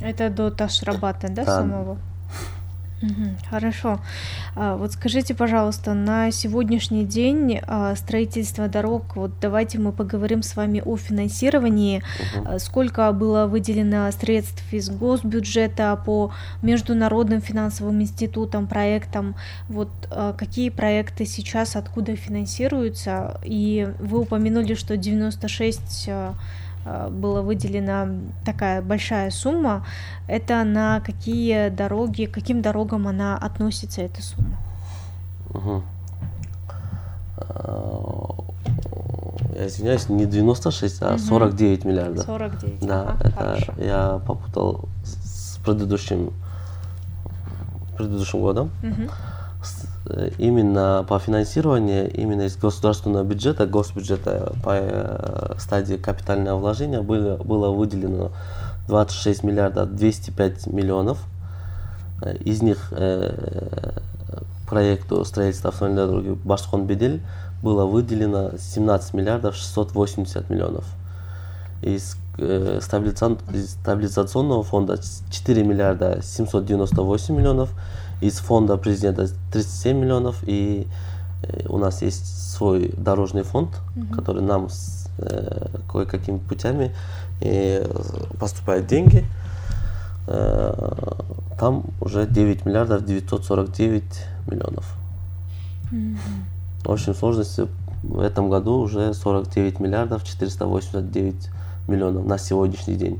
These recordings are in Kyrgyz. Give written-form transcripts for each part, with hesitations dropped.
Это до Таш-Рабата, да, Да. самого? Хорошо. Вот скажите, пожалуйста, на сегодняшний день строительство дорог, вот давайте мы поговорим с вами о финансировании. Сколько было выделено средств из госбюджета по международным финансовым институтам, проектам? Вот какие проекты сейчас откуда финансируются? И вы упомянули, что 96 была выделена такая большая сумма. Это на какие дороги, к каким дорогам она относится, эта сумма? Я извиняюсь, не 96, а 49 миллиардов. 49, Да, ага, это хорошо. я попутал с предыдущим годом. Именно по финансированию, именно из государственного бюджета, госбюджета по стадии капитального вложения было выделено 26 миллиардов 205 миллионов. Из них проекту строительства автомобильной дороги Башкон-Бедель было выделено 17 миллиардов 680 миллионов. Из стабилизационного фонда 4 миллиарда 798 миллионов. Из фонда президента 37 миллионов, и у нас есть свой дорожный фонд, который нам кое-какими путями поступают деньги. Там уже 9 миллиардов 949 миллионов. В общем сложности в этом году уже 49 миллиардов 489 миллионов на сегодняшний день.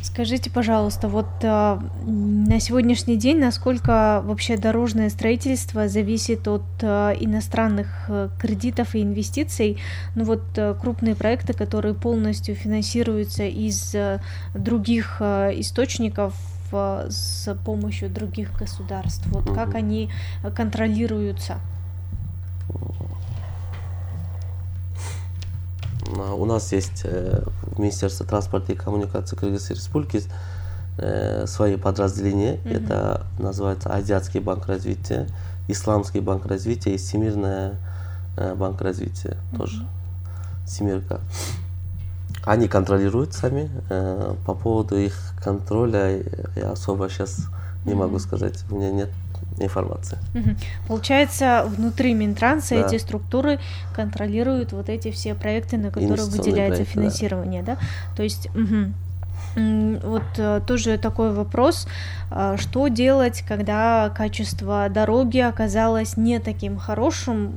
Скажите, пожалуйста, вот на сегодняшний день насколько вообще дорожное строительство зависит от иностранных кредитов и инвестиций? Ну вот крупные проекты, которые полностью финансируются из других источников с помощью других государств. Вот как они контролируются? У нас есть в Министерстве транспорта и коммуникации Кыргызской Республики свои подразделения. Это называется Азиатский банк развития, Исламский банк развития и Всемирный банк развития. Тоже семерка. Они контролируют сами. По поводу их контроля я особо сейчас не могу сказать. У меня нет информации. Получается, внутри Минтранса эти структуры контролируют вот эти все проекты, на которые выделяется финансирование, да? То есть вот тоже такой вопрос, что делать, когда качество дороги оказалось не таким хорошим?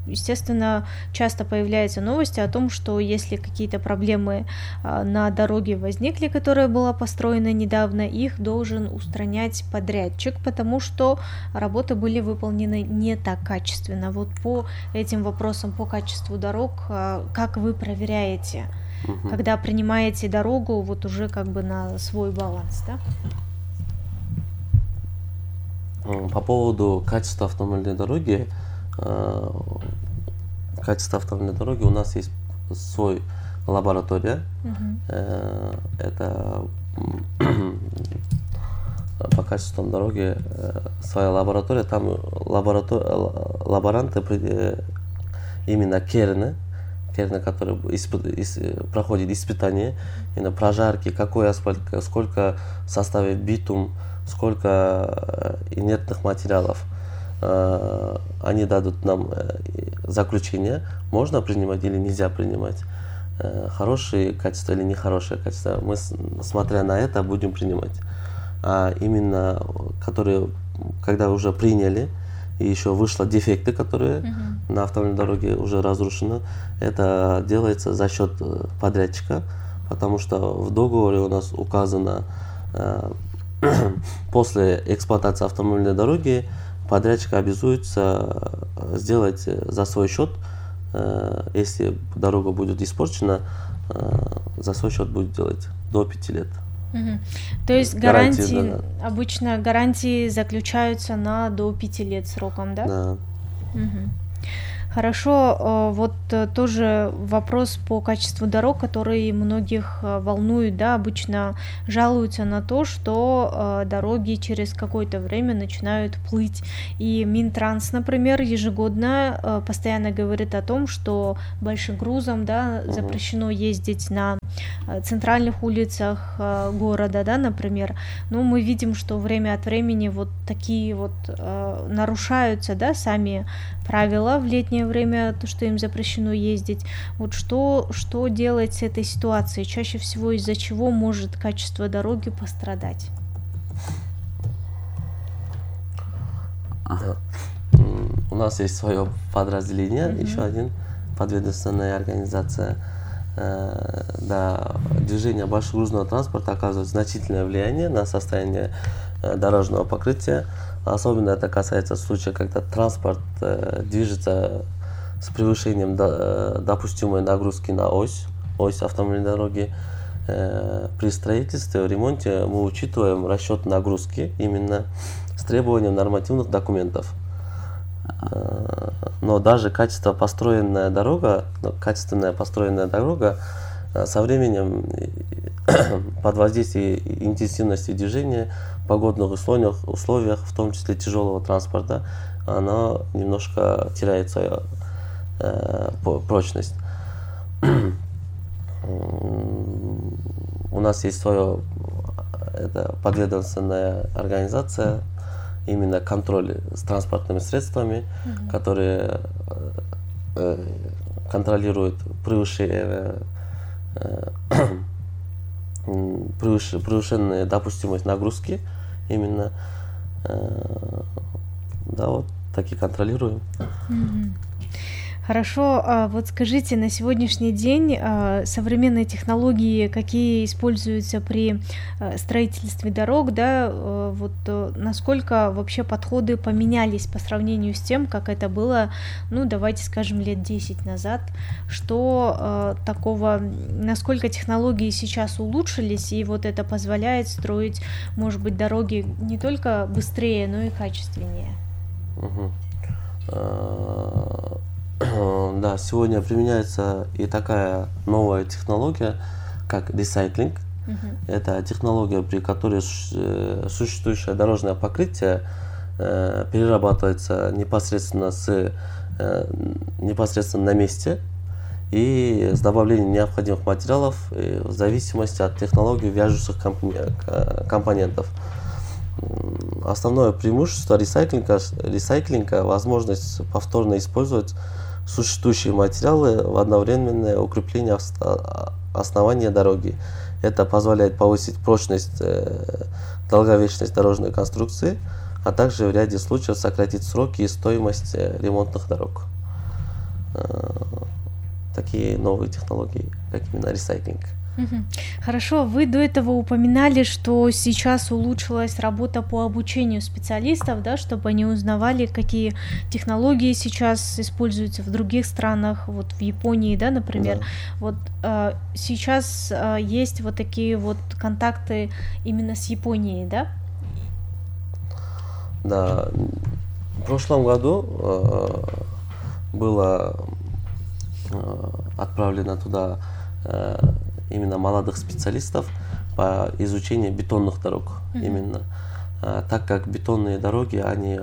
Естественно, часто появляются новости о том, что если какие-то проблемы на дороге возникли, которая была построена недавно, их должен устранять подрядчик, потому что работы были выполнены не так качественно. Вот по этим вопросам, по качеству дорог, как вы проверяете, когда принимаете дорогу вот уже как бы на свой баланс, да? По поводу качества автомобильной дороги, у нас есть свой лаборатория. Это по качеству дороги своя лаборатория. Там лаборанты именно керны, который проходит испытания, именно прожарки, какой асфальт, сколько составит битум, сколько инертных материалов. Они дадут нам заключение, можно принимать или нельзя принимать, хорошее качество или нехорошее качество. Мы, смотря на это, будем принимать. А именно, которые, когда уже приняли, и еще вышло дефекты, которые на автомобильной дороге уже разрушены, это делается за счет подрядчика, потому что в договоре у нас указано, после эксплуатации автомобильной дороги подрядчик обязуется сделать за свой счет, если дорога будет испорчена, за свой счет будет делать до 5 лет. То есть гарантии, обычно гарантии заключаются на до 5 лет сроком, да? Да. Хорошо, вот тоже вопрос по качеству дорог, который многих волнует, да, обычно жалуются на то, что дороги через какое-то время начинают плыть. И Минтранс, например, ежегодно постоянно говорит о том, что большим грузом, да, запрещено ездить на центральных улицах города, да, например. Но мы видим, что время от времени вот такие вот нарушаются, да, сами правила в летнее время, то, что им запрещено ездить. Вот что делать с этой ситуацией? Чаще всего из-за чего может качество дороги пострадать? У нас есть свое подразделение, еще один, подведомственная организация. Да, движение большегрузного транспорта оказывает значительное влияние на состояние дорожного покрытия. Особенно это касается случая, когда транспорт движется с превышением допустимой нагрузки на ось автомобильной дороги. При строительстве, ремонте мы учитываем расчет нагрузки именно с требованием нормативных документов. Но даже качественная построенная дорога со временем под воздействием интенсивности движения, погодных условиях, в том числе тяжелого транспорта, она немножко теряет свою прочность. У нас есть своя подведомственная организация, именно контроль с транспортными средствами, которые контролируют превышенную допустимость нагрузки, именно, да, вот такие контролируем. Хорошо, вот скажите, на сегодняшний день современные технологии, какие используются при строительстве дорог, да, вот насколько вообще подходы поменялись по сравнению с тем, как это было, ну, давайте скажем, лет 10 назад, что такого, насколько технологии сейчас улучшились, и вот это позволяет строить, может быть, дороги не только быстрее, но и качественнее? Да, сегодня применяется и такая новая технология, как ресайклинг. Это технология, при которой существующее дорожное покрытие перерабатывается непосредственно на месте и с добавлением необходимых материалов в зависимости от технологии вяжущих компонентов. Основное преимущество ресайклинга – возможность повторно использовать существующие материалы в одновременное укрепление основания дороги. Это позволяет повысить прочность, долговечность дорожной конструкции, а также в ряде случаев сократить сроки и стоимость ремонтных дорог. Такие новые технологии, как именно ресайклинг. Хорошо, вы до этого упоминали, что сейчас улучшилась работа по обучению специалистов, да, чтобы они узнавали, какие технологии сейчас используются в других странах, вот в Японии, да, например. Да. Вот сейчас есть вот такие вот контакты именно с Японией, да? Да, в прошлом году было отправлено туда именно молодых специалистов по изучению бетонных дорог. Именно так как бетонные дороги, они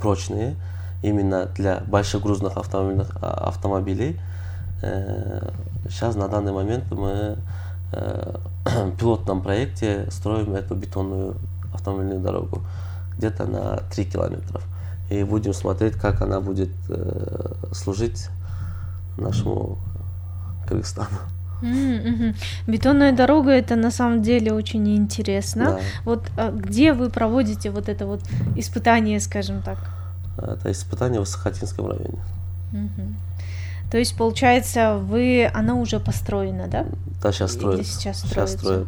прочные именно для большегрузных автомобилей. Сейчас на данный момент мы в пилотном проекте строим эту бетонную автомобильную дорогу где-то на 3 километра. И будем смотреть, как она будет служить нашему Кыргызстану. Бетонная дорога — это на самом деле очень интересно. Да. Вот где вы проводите вот это вот испытание, скажем так? Это испытание в Сахатинском районе. То есть, получается, она уже построена, да? Да, сейчас строят. Или сейчас строят, да.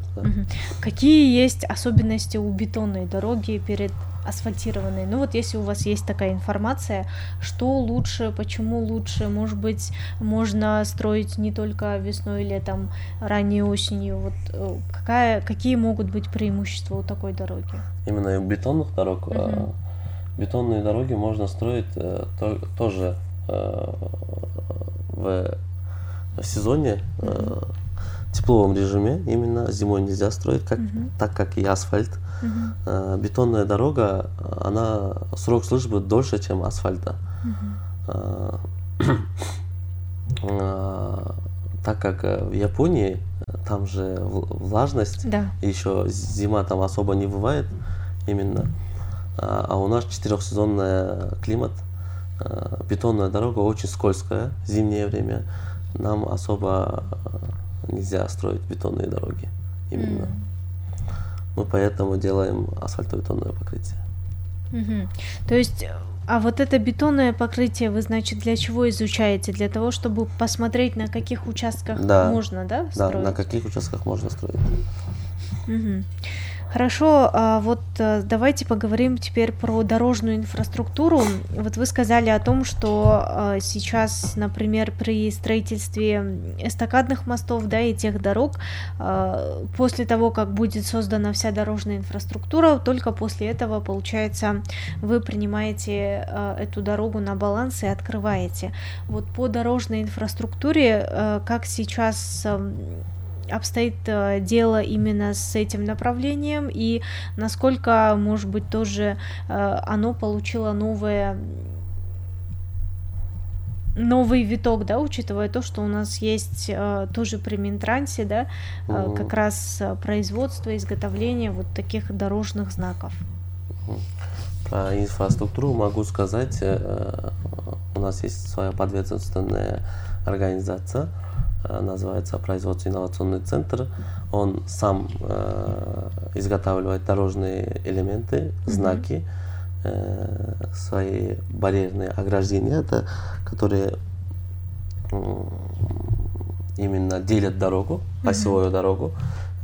Какие есть особенности у бетонной дороги перед асфальтированной? Ну вот если у вас есть такая информация, что лучше, почему лучше, может быть, можно строить не только весной, летом, ранней осенью, вот какие могут быть преимущества у такой дороги? Именно у бетонных дорог? Бетонные дороги можно строить тоже в сезоне, тепловом режиме, именно зимой нельзя строить, так как и асфальт. Бетонная дорога, она срок службы дольше, чем асфальта. Так как в Японии там же влажность, еще зима там особо не бывает именно, а у нас 4-сезонный климат, бетонная дорога очень скользкая в зимнее время, нам особо нельзя строить бетонные дороги именно. Мы поэтому делаем асфальтобетонное покрытие. То есть, а вот это бетонное покрытие вы, значит, для чего изучаете? Для того, чтобы посмотреть, на каких участках можно, строить? Да, на каких участках можно строить. Хорошо, вот давайте поговорим теперь про дорожную инфраструктуру. Вот вы сказали о том, что сейчас, например, при строительстве эстакадных мостов, и тех дорог, после того, как будет создана вся дорожная инфраструктура, только после этого, получается, вы принимаете эту дорогу на баланс и открываете. Вот по дорожной инфраструктуре, как сейчас обстоит дело именно с этим направлением, и насколько, может быть, тоже оно получило новый виток, учитывая то, что у нас есть тоже при Минтрансе, как раз производство, изготовление вот таких дорожных знаков. Про инфраструктуру могу сказать, у нас есть своя подведомственная организация, называется Производственный инновационный центр. Он сам изготавливает дорожные элементы, знаки, свои барьерные ограждения, которые именно делят дорогу, осевую дорогу,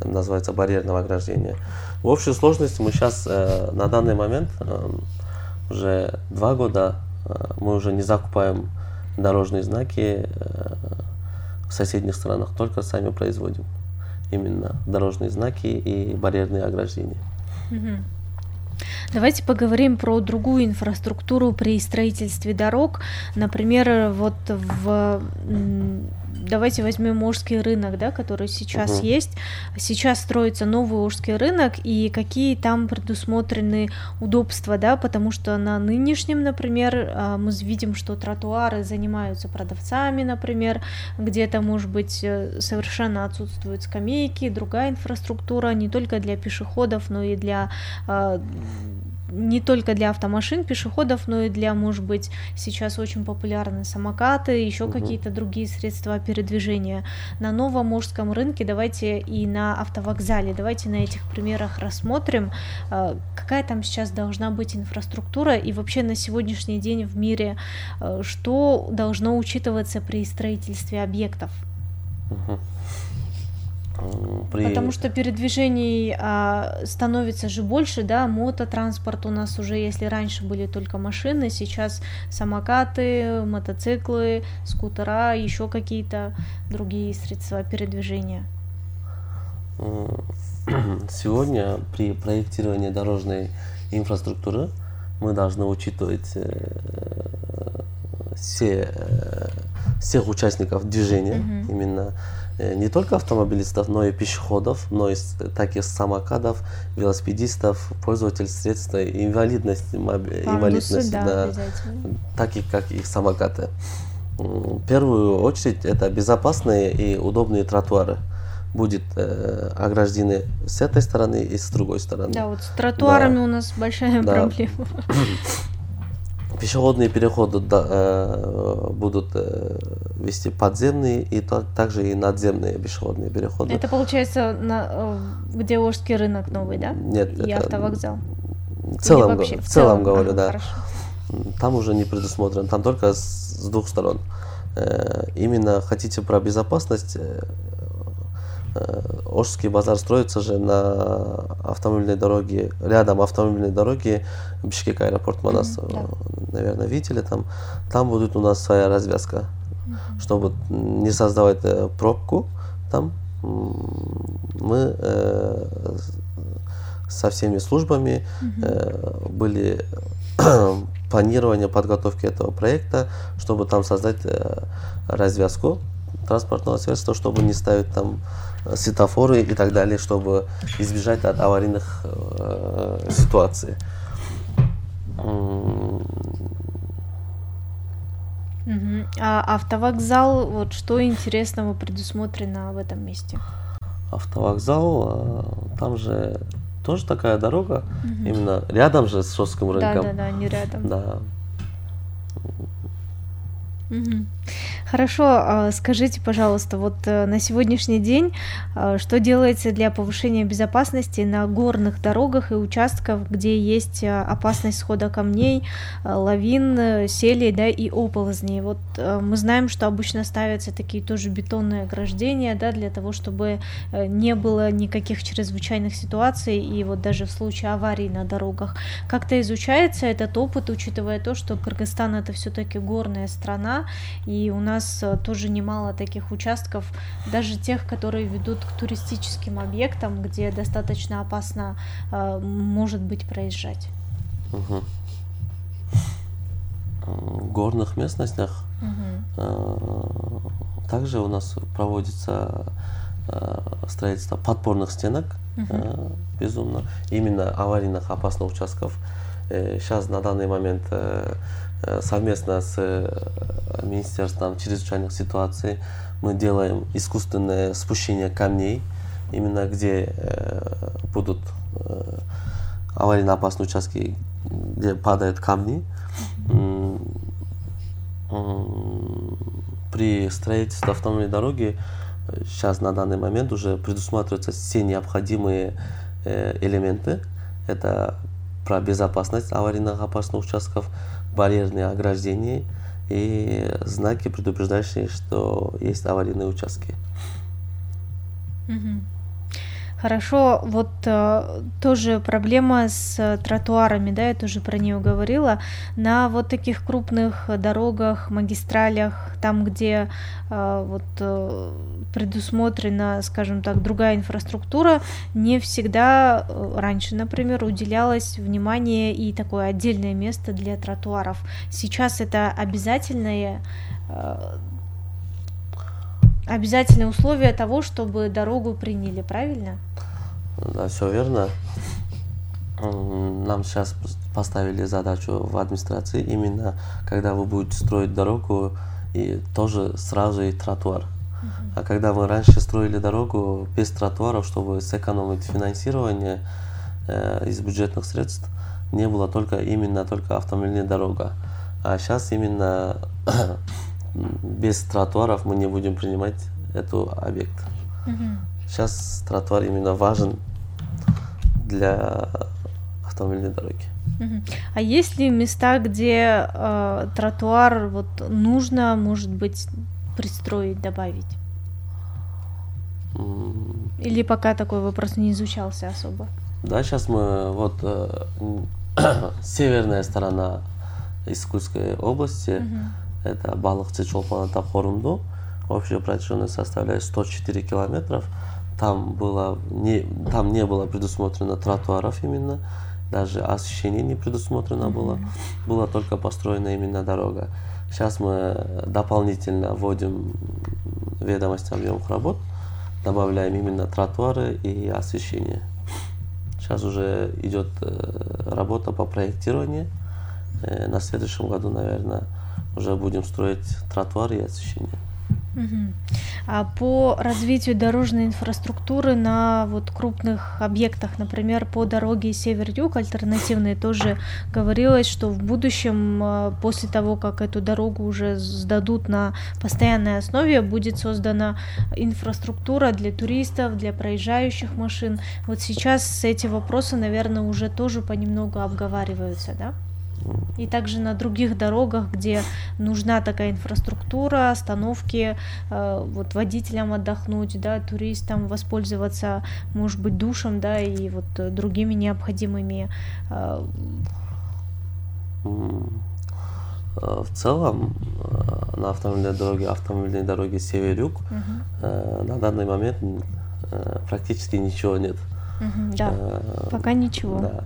называется барьерное ограждение. В общей сложности мы сейчас на данный момент уже 2 года мы уже не закупаем дорожные знаки в соседних странах, только сами производим именно дорожные знаки и барьерные ограждения. Давайте поговорим про другую инфраструктуру при строительстве дорог. Например, вот давайте возьмем Ожский рынок, который сейчас есть. Сейчас строится новый Ожский рынок, и какие там предусмотрены удобства, потому что на нынешнем, например, мы видим, что тротуары занимаются продавцами, например, где-то, может быть, совершенно отсутствуют скамейки, другая инфраструктура не только для пешеходов, но и не только для автомашин, пешеходов, но и для, может быть, сейчас очень популярны самокаты, еще какие-то другие средства передвижения. На новом Ожском рынке, давайте и на автовокзале, давайте на этих примерах рассмотрим, какая там сейчас должна быть инфраструктура, и вообще на сегодняшний день в мире что должно учитываться при строительстве объектов. Потому что передвижений становится же больше, мототранспорт у нас уже, если раньше были только машины, сейчас самокаты, мотоциклы, скутера, еще какие-то другие средства передвижения. Сегодня при проектировании дорожной инфраструктуры мы должны учитывать всех участников движения, именно не только автомобилистов, но и пешеходов, но и так и самокатов, велосипедистов, пользователей средств инвалидности, так и как и самокаты. В первую очередь это безопасные и удобные тротуары. Будет ограждены с этой стороны и с другой стороны. Да, вот с тротуарами у нас большая проблема. Пешеходные переходы будут вести подземные и также и надземные пешеходные переходы. Это получается где Ожский рынок новый, да? Нет, и автовокзал. В целом говорю, да. Хорошо. Там уже не предусмотрено, там только с 2 сторон. Именно хотите про безопасность, Ожский базар строится же на автомобильной дороге, рядом автомобильной дороги Бишкек аэропорт Манас, наверное, видели там будет у нас своя развязка, чтобы не создавать пробку там. Мы со всеми службами были планирование подготовки этого проекта, чтобы там создать развязку транспортного средства, чтобы не ставить там светофоры и так далее, чтобы избежать от аварийных ситуаций. А автовокзал, вот что интересного предусмотрено в этом месте? Автовокзал, там же тоже такая дорога, именно рядом же с Шостским рынком. Да, не рядом. Да. Хорошо, скажите, пожалуйста, вот на сегодняшний день что делается для повышения безопасности на горных дорогах и участках, где есть опасность схода камней, лавин, селей, да, и оползней? Вот мы знаем, что обычно ставятся такие тоже бетонные ограждения, да, для того, чтобы не было никаких чрезвычайных ситуаций, и вот даже в случае аварий на дорогах. Как-то изучается этот опыт, учитывая то, что Кыргызстан — это все-таки горная страна, и у нас тоже немало таких участков, даже тех, которые ведут к туристическим объектам, где достаточно опасно может быть проезжать. В горных местностях также у нас проводится строительство подпорных стенок, безумно, именно аварийных опасных участков. Сейчас на данный момент совместно с Министерством чрезвычайных ситуаций мы делаем искусственное спущение камней, именно где будут аварийно опасные участки, где падают камни. При строительстве автомобильной дороги сейчас на данный момент уже предусматриваются все необходимые элементы. Это про безопасность аварийных опасных участков, барьерные ограждения и знаки, предупреждающие, что есть аварийные участки. Хорошо, вот тоже проблема с тротуарами, да, я тоже про нее говорила. На вот таких крупных дорогах, магистралях, там, где предусмотрена, скажем так, другая инфраструктура, не всегда раньше, например, уделялось внимание и такое отдельное место для тротуаров. Сейчас это обязательное условие того, чтобы дорогу приняли, правильно? Да, все верно. Нам сейчас поставили задачу в администрации, именно когда вы будете строить дорогу, и тоже сразу и тротуар. А когда мы раньше строили дорогу без тротуаров, чтобы сэкономить финансирование из бюджетных средств, не было только автомобильная дорога. А сейчас именно без тротуаров мы не будем принимать этот объект. Сейчас тротуар именно важен для автомобильной дороги. А есть ли места, где тротуар нужно, может быть, пристроить, добавить? Или пока такой вопрос не изучался особо? Да, сейчас мы северная сторона Искульской области, это Балыкчы, Чолпон Ата, Хорунду, общая протяженность составляет 104 километров. Там не было предусмотрено тротуаров именно, даже освещение не предусмотрено было, была только построена именно дорога. Сейчас мы дополнительно вводим ведомость объемных работ, добавляем именно тротуары и освещение. Сейчас уже идет работа по проектированию. На следующем году, наверное, уже будем строить тротуары и освещение. А по развитию дорожной инфраструктуры на крупных объектах, например, по дороге север-юг альтернативной, тоже говорилось, что в будущем, после того, как эту дорогу уже сдадут на постоянной основе, будет создана инфраструктура для туристов, для проезжающих машин. Вот сейчас эти вопросы, наверное, уже тоже понемногу обговариваются, да? И также на других дорогах, где нужна такая инфраструктура, остановки, водителям отдохнуть, да, туристам воспользоваться, может быть, душем, да, и другими необходимыми. В целом на автомобильной дороге север-юг на данный момент практически ничего нет. Да, пока ничего. Да.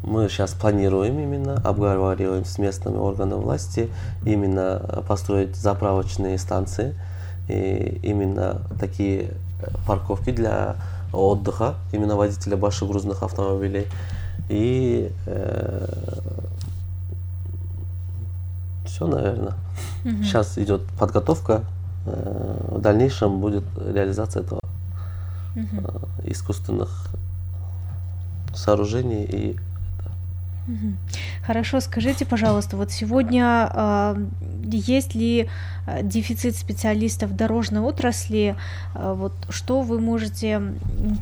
Мы сейчас планируем именно, обговариваем с местными органами власти, именно построить заправочные станции, и именно такие парковки для отдыха, именно водителя большегрузных автомобилей. И все, наверное. Сейчас идет подготовка, в дальнейшем будет реализация этого искусственных сооружений и Хорошо, скажите, пожалуйста, вот сегодня есть ли дефицит специалистов в дорожной отрасли? Вот что вы можете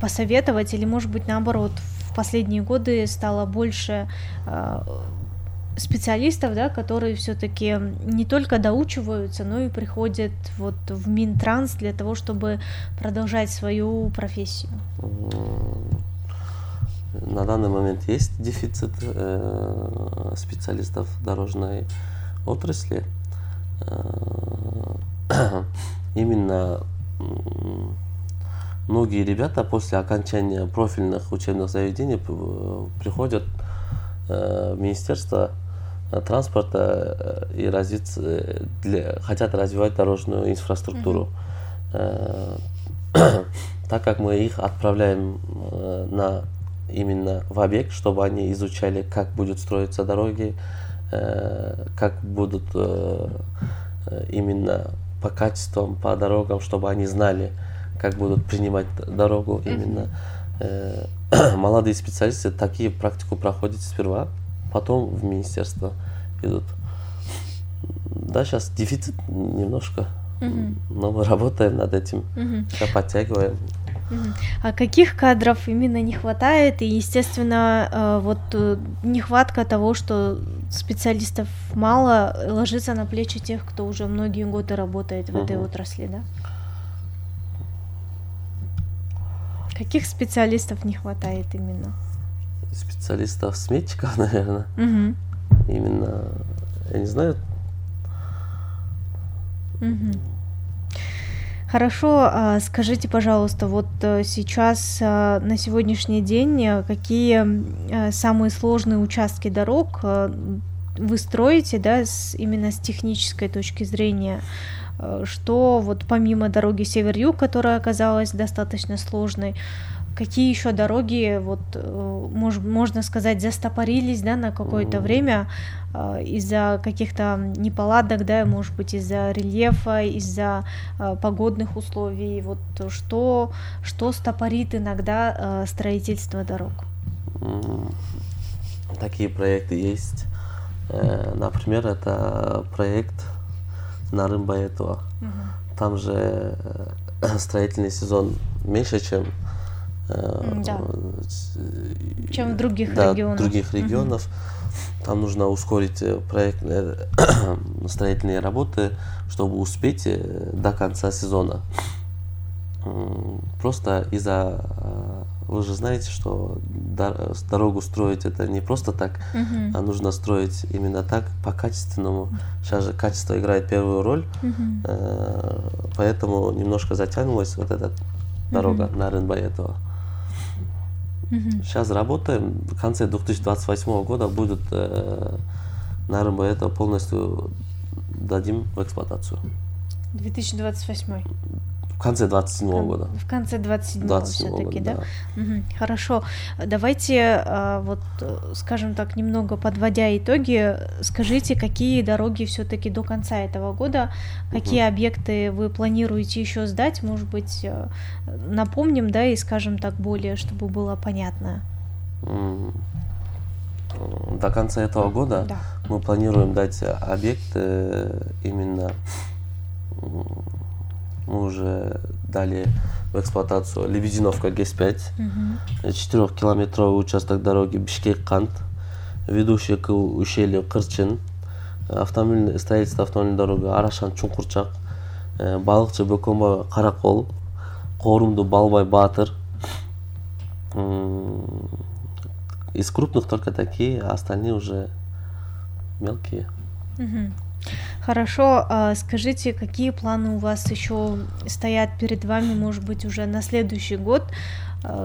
посоветовать, или, может быть, наоборот, в последние годы стало больше специалистов, да, которые все-таки не только доучиваются, но и приходят вот в Минтранс для того, чтобы продолжать свою профессию? На данный момент есть дефицит специалистов в дорожной отрасли. Именно многие ребята после окончания профильных учебных заведений приходят в Министерство транспорта и хотят развивать дорожную инфраструктуру. Так как мы их отправляем именно в объект, чтобы они изучали, как будут строиться дороги, как будут именно по качествам, по дорогам, чтобы они знали, как будут принимать дорогу именно. Молодые специалисты такие практику проходят сперва, потом в министерство идут. Да, сейчас дефицит немножко, но мы работаем над этим, подтягиваем. А каких кадров именно не хватает? И, естественно, вот нехватка того, что специалистов мало, ложится на плечи тех, кто уже многие годы работает в этой отрасли, да? Каких специалистов не хватает именно? Специалистов-сметчиков, наверное. Именно, я не знаю. Хорошо, скажите, пожалуйста, вот сейчас, на сегодняшний день, какие самые сложные участки дорог вы строите, да, именно с технической точки зрения? Что вот помимо дороги север-юг, которая оказалась достаточно сложной, какие еще дороги, вот, можно сказать, застопорились, да, на какое-то время из-за каких-то неполадок, да, может быть, из-за рельефа, из-за погодных условий, вот что стопорит иногда строительство дорог? Такие проекты есть. Например, это проект Нарым-Баятова. Там же строительный сезон меньше, чем чем в других регионах. Других регионов. Там нужно ускорить строительные работы, чтобы успеть до конца сезона. Просто вы же знаете, что дорогу строить это не просто так, а нужно строить именно так, по-качественному. Сейчас же качество играет первую роль, поэтому немножко затянулась вот эта дорога Нарым-Баятова. Сейчас работаем, в конце 2028 года будет Нарым-Баятова полностью дадим в эксплуатацию. 2028? В конце 27 года. В конце 27 все-таки, да? Хорошо. Давайте, вот, скажем так, немного подводя итоги, скажите, какие дороги все-таки до конца этого года, какие объекты вы планируете еще сдать, может быть, напомним, да, и скажем так более, чтобы было понятно. До конца этого года мы планируем дать объекты именно. Мы уже дали в эксплуатацию Лебединовка ГЭС-5, 4-километровый участок дороги Бишкек-Кант, ведущий к ущелью Кырчын, строительство автомобильной дороги Арашан-Чуңкурчак, Балыкчы-Бөкөнбай-Каракол, Коорумду-Балбай-Батыр. Из крупных только такие, а остальные уже мелкие. Хорошо, скажите, какие планы у вас еще стоят перед вами, может быть, уже на следующий год?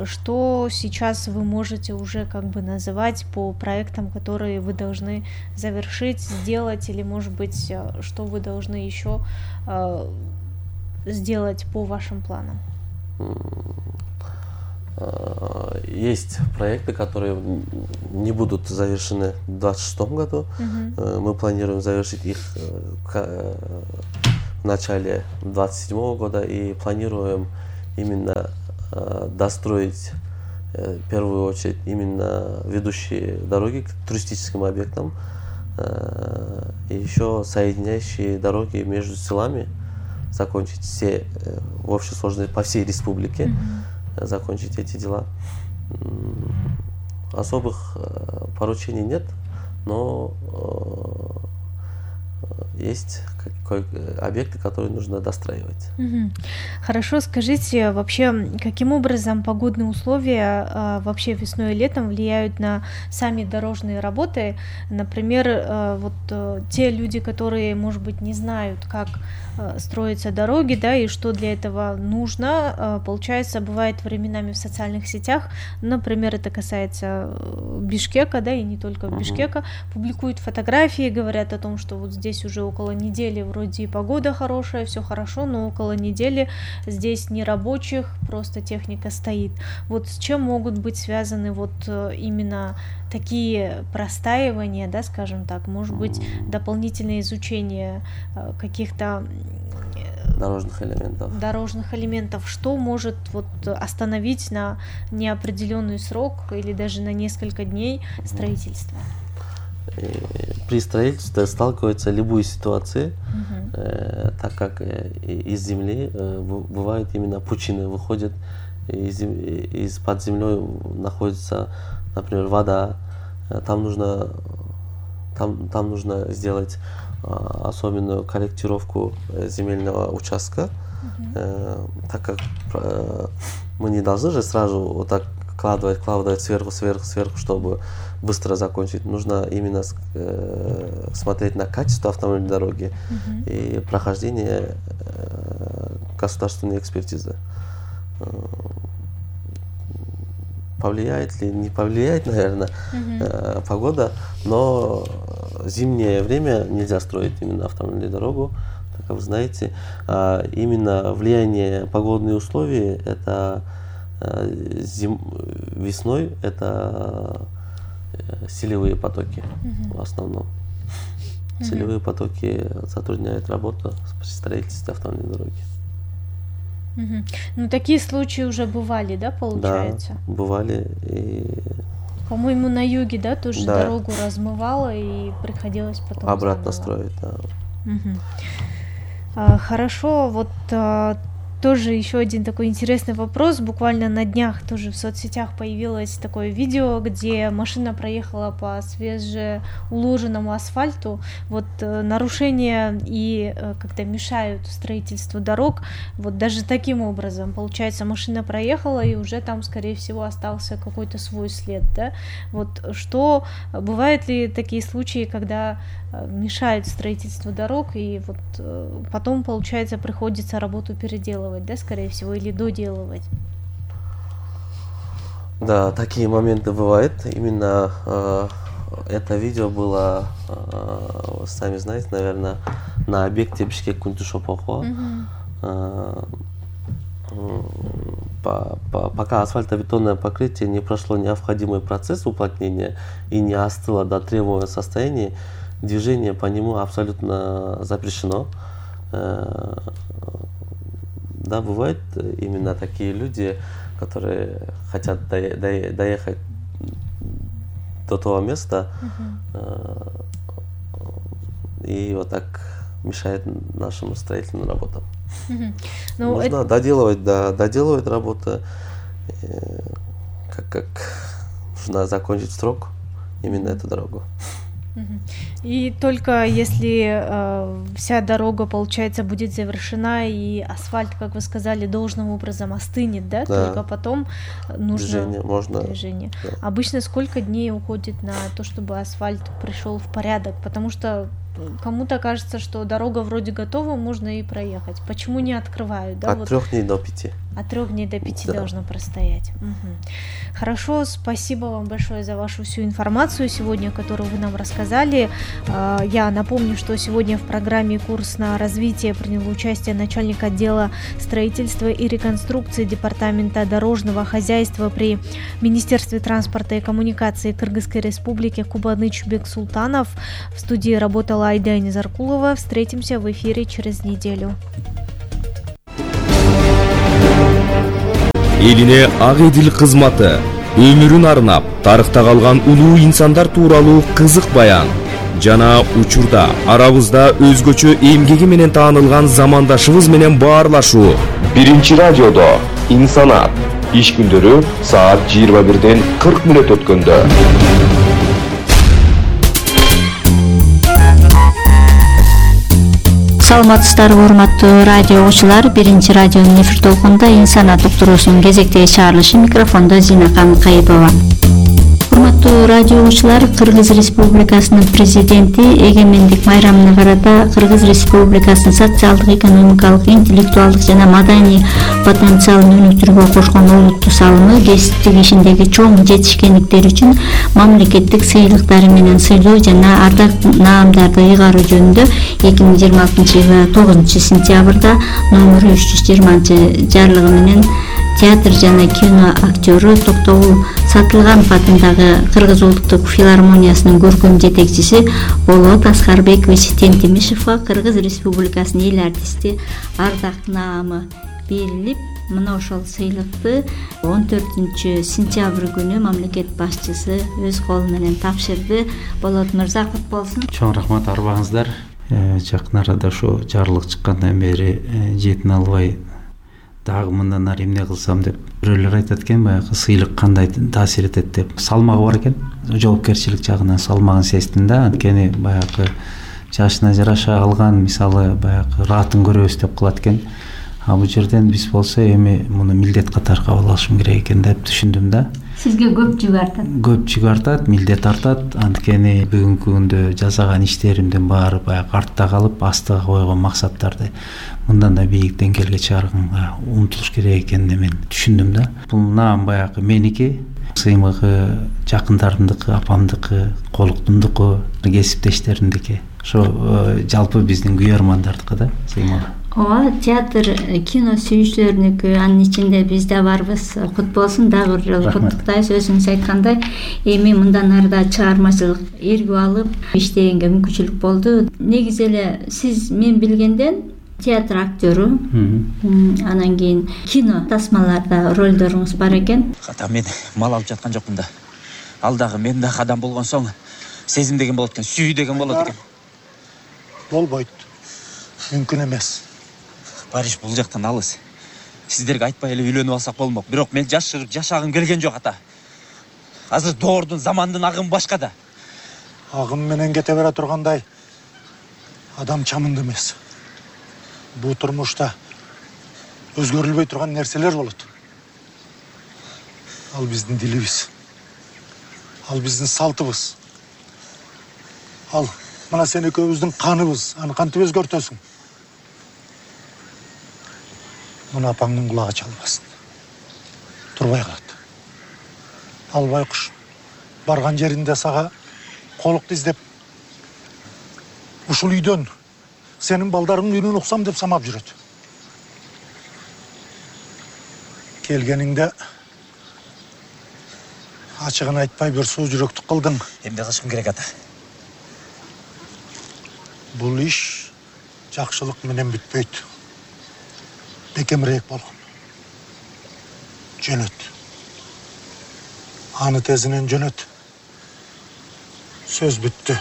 Что сейчас вы можете уже как бы называть по проектам, которые вы должны завершить, сделать, или, может быть, что вы должны еще сделать по вашим планам? Есть проекты, которые не будут завершены в 2026 году. Мы планируем завершить их в начале 2027 года и планируем именно достроить в первую очередь именно ведущие дороги к туристическим объектам и еще соединяющие дороги между селами, закончить все в общей сложности по всей республике, закончить эти дела. Особых поручений нет, но есть объекты, которые нужно достраивать. Хорошо, скажите, вообще, каким образом погодные условия вообще весной и летом влияют на сами дорожные работы? Например, вот те люди, которые, может быть, не знают, как строятся дороги, да, и что для этого нужно, получается, бывает временами в социальных сетях, например, это касается Бишкека, да, и не только Бишкека, публикуют фотографии, говорят о том, что вот здесь уже около недели вроде и погода хорошая, все хорошо, но около недели здесь не рабочих, просто техника стоит. Вот с чем могут быть связаны вот именно такие простаивания, да, скажем так, может быть, дополнительное изучение каких-то дорожных элементов, что может вот остановить на неопределенный срок или даже на несколько дней строительство? При строительстве сталкиваются любые ситуации, так как из земли бывают именно пучины, выходят из-под землей находится, например, вода, там нужно сделать особенную корректировку земельного участка, так как мы не должны же сразу вот так вкладывать сверху, чтобы быстро закончить. Нужно именно смотреть на качество автомобильной дороги и прохождение государственной экспертизы. Повлияет ли, не повлияет, наверное, погода, но зимнее время нельзя строить именно автомобильную дорогу, так как вы знаете, именно влияние погодных условий, это весной, это селевые потоки в основном. Селевые потоки затрудняют работу при строительстве автомобильной дороги. Ну, такие случаи уже бывали, да, получается? Да, бывали. И... По-моему, на юге, да, тоже дорогу размывало и приходилось потом обратно строить, да. Хорошо, вот тоже еще один такой интересный вопрос. Буквально на днях тоже в соцсетях появилось такое видео, где машина проехала по свежеуложенному асфальту. Вот нарушения и как-то мешают строительству дорог. Вот даже таким образом, получается, машина проехала, и уже там, скорее всего, остался какой-то свой след, да? Вот что, бывают ли такие случаи, когда мешают строительству дорог, и вот потом, получается, приходится работу переделывать, да, скорее всего, или доделывать? Да, такие моменты бывают. Именно это видео было, сами знаете, наверное, на объекте Бишкек-Кунтушопохо. Пока асфальтобетонное покрытие не прошло необходимый процесс уплотнения и не остыло до требуемого состояния, движение по нему абсолютно запрещено. Да, бывают именно такие люди, которые хотят доехать до того места, и вот так мешает нашим строительным работам. Нужно доделывать работу, как нужно закончить срок именно эту дорогу. И только если вся дорога, получается, будет завершена и асфальт, как вы сказали, должным образом остынет, да? Только потом нужно движение. Да. Обычно сколько дней уходит на то, чтобы асфальт пришел в порядок? Потому что кому-то кажется, что дорога вроде готова, можно и проехать. Почему не открывают? Да? От 3 дней до 5. От 3 дней до 5 должно простоять. Хорошо, спасибо вам большое за вашу всю информацию сегодня, которую вы нам рассказали. Я напомню, что сегодня в программе «Курс на развитие» принял участие начальник отдела строительства и реконструкции Департамента дорожного хозяйства при Министерстве транспорта и коммуникации Кыргызской Республики Кубаныч Бексултанов. В студии работала Айда Низаркулова. Встретимся в эфире через неделю. Элине ак эдил кызматы, өмүрүн арнап, тарыхта калган улуу инсандар тууралуу кызык баян жана учурда арабызда өзгөчө эмгеги менен таанылган замандашыбыз менен баарлашуу. Биринчи радиодо инсанат. Иш күндөрү саат 21-ден 40 мүнөт өткөндө. Саламатсыздарбы урматтуу радио угуучулар, биринчи радионун эфир толкунунда инсанат уктуруусунун кезектеги чыгарылышы, микрофондо Зинакан Кайыпова. Урматтуу радио угуучулар, Кыргыз Республикасынын президенти эгемендик майрамына карата Кыргыз Республикасынын социалдык, экономикалык, интеллектуалдык жана маданий потенциалын өнүктүрүүгө кошкон олуттуу салымы, кесиптик ишиндеги чоң жетишкендиктери үчүн мамлекеттик сыйлыктары менен сыйлоо жана ардак наамдарды ыйгаруу жөнүндө 2026-жылы 9-сентябрда номер 320 жарлыгы менен театр жана кино актёру Токтогул Сатылганов атындагы Кыргыз улуттук филармониясынын көркөм жетекчиси Болот Аскарбекович Тентимишевго Кыргыз Республикасынын эл артисти ардак наамы берилип, мына ошол сыйлыкты 14-сентябрь күнү мамлекет башчысы өз колу менен тапшырды. Болот мырза, кут болсун. Чоң рахмат, арбаңыздар. Жакын арада ошо жарлык чыккандан бери жетине албай дагы мындан ары эмне кылсам деп бирөөлөр айтат экен, баягы сыйлык кандай таасир этет деп. Салмагы бар экен, жоопкерчилик жагынан салмагын сездим да. Анткени баягы жашына жараша алган, мисалы баягы раатын көрөбүз деп кылат экен. А бул жерден биз болсо эми муну милдет катары кабыл алышым керек экен деп түшүндүм да. Сизге көп жүк артат. Көп жүк артат, милдет артат. Анткени бүгүнкү күндө жасаган иштеримдин баары баягы артта калып, астыга койгон максаттарды мындан да бийик деңгээлге чыгарганга умтулуш керек экенин мен түшүндүм да. Бул наам баягы меники, сыймыгы жакындарымдыкы, апамдыкы, колуктумдуку, кесиптештеримдики. Ошо жалпы биздин күйөрмандардыкы да сыймыгы. Ооба, театр, кино сүйүүчүлөрүнүкү, анын ичинде биз да барбыз. Кут болсун, дагы бир жолу куттуктайбыз. Өзүңүз айткандай, эми мындан арыда чыгармачылык эргип алып иштегенге мүмкүнчүлүк болду. Негизи эле сиз мен билгенден театр актёру, анан кийин кино тасмаларда ролдоруңуз бар экен. Ката мен мал алып жаткан жокмун да. Ал дагы мен дагы адам болгон соң сезим деген болот экен, сүйүү деген болот экен. Болбойт. Мүмкүн эмес. Париж бул жактан алыс. Сиздерге айтпай эле үйлөнүп алсак болмок. Бирок мен жашырып жашагым келген жок ата. Азыр доордун, замандын агымы башка да. Агым менен кете бере тургандай адам чамынды эмес. Бул турмушта өзгөрүлбөй турган нерселер болот. Ал биздин дилибиз. Ал биздин салтыбыз. Ал мына сен экөөбүздүн каныбыз. Аны кантип өзгөртөсүң? Мына апаңдын кулагы чалбасын. Турбай калат. Ал байкуш барган жеринде сага колукту издеп ушул үйдөн сенин балдарыңдын үйүнөн уксам деп самап жүрөт. Келгениңде ачыгын айтпай бир суу жүрөктүк кылдың. Эмне кылышым керек ата? Бул иш жакшылык менен бүтпөйт. Бекемирээк болгон. Жөнөт. Аны тезинен жөнөт. Сөз бүттү.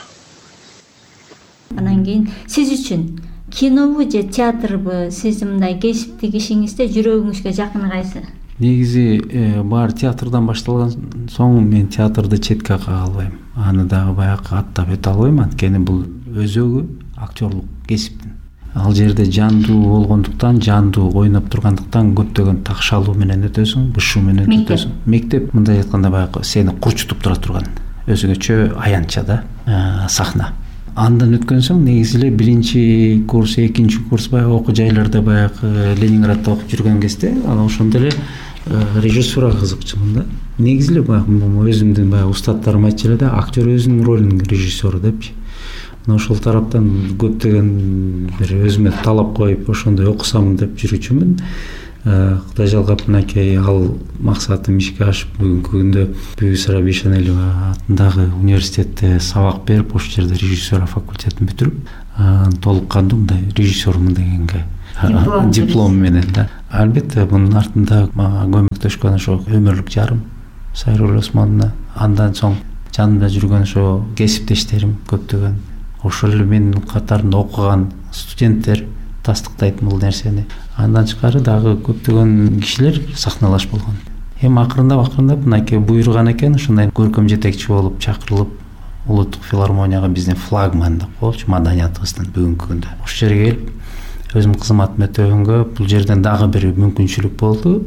Анан кийин сиз үчүн кинобу же театрбы, сиздин мындай кесиптик ишиңизде жүрөгүңүзгө жакыны кайсы? Негизи баары театрдан башталган соң мен театрды четке кага албайм. Аны дагы баягы аттап өтө албайм, анткени бул өзөгү актерлук кесиптин. Ал жерде жандуу болгондуктан, жандуу ойноп тургандыктан көптөгөн такшалуу менен өтөсүң, бышуу менен өтөсүң. Мектеп мындай айтканда баягы сени курчутуп тура турган өзүнчө аянтча да сахна. Андан өткөн соң негизи эле 1-курс, 2-курс баягы окуу жайларда баягы Ленинградда окуп жүргөн кезде анан ошондо эле режиссурага кызыкчумун да. Негизи эле баягы өзүмдүн баягы устаттарым айтчу эле да, актер өзүнүн ролунун режиссеру депчи. Ошол тараптан көптөгөн бир өзүмө талап коюп ошондой окусам деп жүрүүчүмүн. Кудай жалгап мынакей ал максатым ишке ашып бүгүнкү күндө Бүсара Бишенелова атындагы университетте сабак берип, ошол жерде режиссура факультетин бүтүрүп, толук кандуу мындай режиссермун дегенге диплом менен да. Албетте мунун артында мага көмөктөшкөн ошо өмүрлүк жарым Сайрул Осмоновна, андан соң жанымда жүргөн ошо кесиптештерим көптөгөн, ошол эле менин катарында окуган студенттер тастыктайт бул нерсени. Андан тышкары дагы көптөгөн кишилер сахналашып болгон. Эми акырындап мынакей буйруган экен, ушундай көркөм жетекчи болуп чакырылып улуттук филармонияга биздин флагман деп коелучу маданиятыбыздын бүгүнкү күндө. Ошол жерге келип өзүм кызматымды өтөгөнгө бул жерден дагы бир мүмкүнчүлүк болду.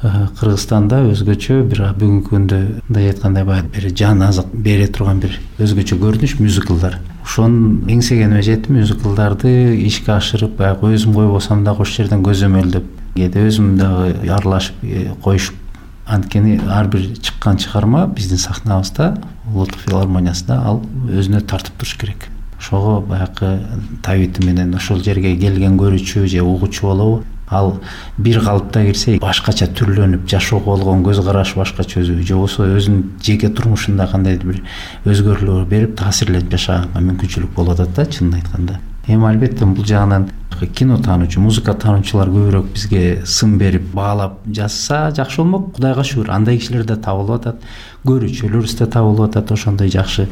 Кыргызстанда өзгөчө бир бүгүнкү күндө мындай айткандай баягы бир жан азык бере турган бир өзгөчө көрүнүш мюзиклдар. Ошонун эңсегениме жетип, мюзиклдарды ишке ашырып, баягы өзүм койбосом дагы ошол жерден көзөмөлдөп, кээде өзүм дагы аралашып коюшуп. Анткени ар бир чыккан чыгарма биздин сахнабызда, улуттук филармониясында ал өзүнө тартып туруш керек. Ошого баягы табити менен ошол жерге келген көрүүчү же угуучу болобу, ал бир калыпта кирсе башкача түрлөнүп, жашоого болгон көз карашы башкача өзү, же болбосо өзүнүн жеке турмушунда кандайдыр бир өзгөрүүлөр берип, таасирленип жашаганга мүмкүнчүлүк болуп атат да, чынын айтканда. Эми албетте бул жагынан кино таануучу, музыка таануучулар көбүрөөк бизге сын берип, баалап жазса жакшы болмок. Кудайга шүгүр, андай кишилер да табылып атат, көрүүчүлөрүбүз да табылып атат. Ошондой жакшы